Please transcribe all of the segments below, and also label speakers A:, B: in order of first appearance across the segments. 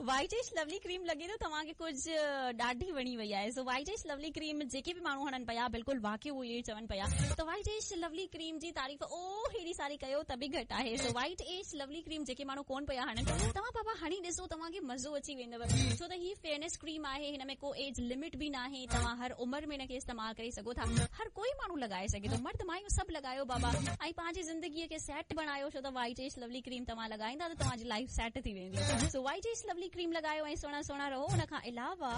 A: White age لولي ڪريم لڳي ٿو توهان کي ڪجهه ڏاڍي وڻي وئي آهي. سو وائيٽ ايج لولي ڪريم جيڪي به ماڻهو هڻن پيا بلڪل واقعي اهو اهو چون پيا ته وائيٽ ايج لولي ڪريم جي تعريف او هيڏي ساري ڪيو ته به گهٽ آهي. سو وائيٽ ايج لولي ڪريم جيڪي ماڻهو ڪون پيا هڻن توهان بابا هڻي ڏسو توهان کي مزو اچي ويندو ڇو ته هي فيئرنيس ڪريم آهي هن ۾ ڪو ايج لمٽ به ناهي توهان هر عمر ۾ هن کي استعمال ڪري سگهو ٿا هر ڪوئي ماڻهو لڳائي سگهي ٿو مرد مايون سڀ لڳايو بابا ۽ پنهنجي زندگي کي سيٽ بڻايو ڇو ته وائيٽ ايج لولي ڪريم توهان لڳائيندا ته توهان جي لائيف سيٽ ٿي ويندي. سو وائيٽ ايج لولي ڪريم لڳايو ۽ سهڻا سهڻا رهو ان کان علاوه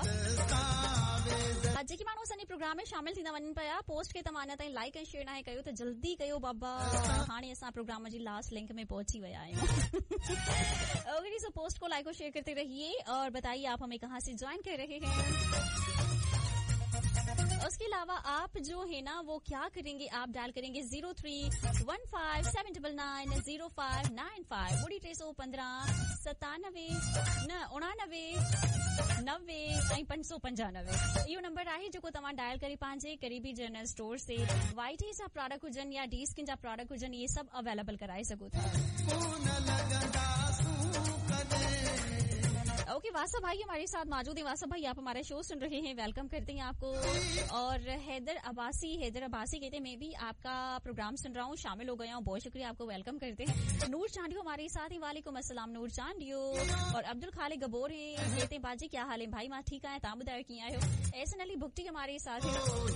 A: جيڪي ماڻهو اسان جي پروگرام ۾ شامل ٿيندا وڃن پيا پوسٽ کي توهان اڃا تائين لائيڪ ۽ شيئر ناهي ڪيو ته جلدي ڪيو بابا هاڻي اسان پروگرام جي لاسٽ لنڪ ۾ پهچي ويا آهيون اوڪي جي سو پوسٽ کو لائيڪ اور شيئر کرتي رهيي اور بتائيي آپ همين ڪهان سي جوائن ڪر رهي هين اس کے علاوه آپ جو هي نا وو ڪيا ڪرين گي آپ ڊائل ڪرين گي 03157 99 05 95 ٻڙي 315 97 نه 89 90 ۽ 595 اهو نمبر آهي جيڪو توهان ڊائل ڪري پنهنجي قريبي جنرل اسٽور سي وائيٽ ايج جا پراڊڪٽ هجن يا ڊي اسڪن جا پراڊڪٽ هجن اهي سڀ اويليبل ڪرائي سگهو ٿا. اوڪي واسا ڀائي هماري ساٿ موجود هين واسا ڀائي آپ همارا شو سن رهي هين ويلڪم ڪرتي هين آپ ڪو اور حيدر عباسي حيدر عباسي ڪهتي مين ڀي آپ ڪا پروگرام سن رها هون شامل هو گيا هون بهت شڪريه آپ ڪو ويلڪم ڪرتي هين نور چانڊيو هماري ساٿ هين وعليڪم السلام نور چانڊيو اور عبدالخالق گبور هين ڪهتي هين باجي ڪيا حال هين ڀائي مان ٺيڪ آهيان توهان ٻڌايو ڪيئن آهيو احسن علي بگٽي هماري ساٿ هين.